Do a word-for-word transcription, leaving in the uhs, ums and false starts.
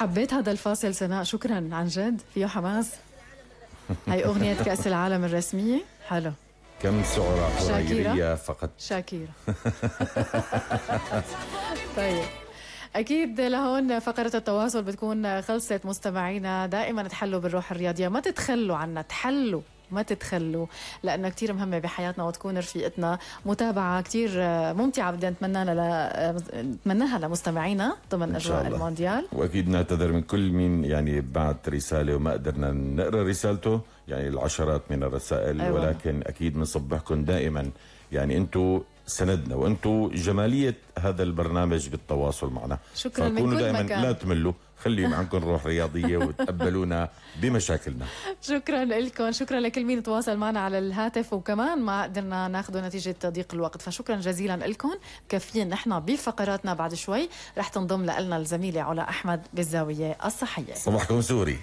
حبيت هذا الفاصل سناء، شكرا عن جد، فيه حماس. هاي أغنية كأس العالم الرسمية. حلو. كم سعرة حريرية فقط. شاكيرة. طيب أكيد لهون فقرة التواصل بتكون خلصت. مستمعينا دائما تحلوا بالروح الرياضية، ما تتخلوا عنا، تحلوا ما تتخلوا، لأنها كتير مهمة بحياتنا وتكون رفيقتنا. متابعة كتير ممتعة بدنا نتمناها ل... نتمناها لمستمعينا ضمن أجواء المونديال. وأكيد نعتذر من كل مين يعني بعت رسالة وما قدرنا نقرأ رسالته، يعني العشرات من الرسائل. أيوة. ولكن أكيد بنصبحكم دائما، يعني أنتوا سندنا وأنتوا جمالية هذا البرنامج بالتواصل معنا. شكرا من كل دائما مكان. لا تملوا، خلي معكم روح رياضية وتقبلونا بمشاكلنا. شكرا لكم، شكرا لكل مين تواصل معنا على الهاتف وكمان ما قدرنا ناخذه نتيجة ضيق الوقت، فشكرا جزيلا لكم. كافيين نحن بفقراتنا بعد شوي رح تنضم لنا الزميلة علا أحمد بالزاوية الصحية. صباحكم سوري.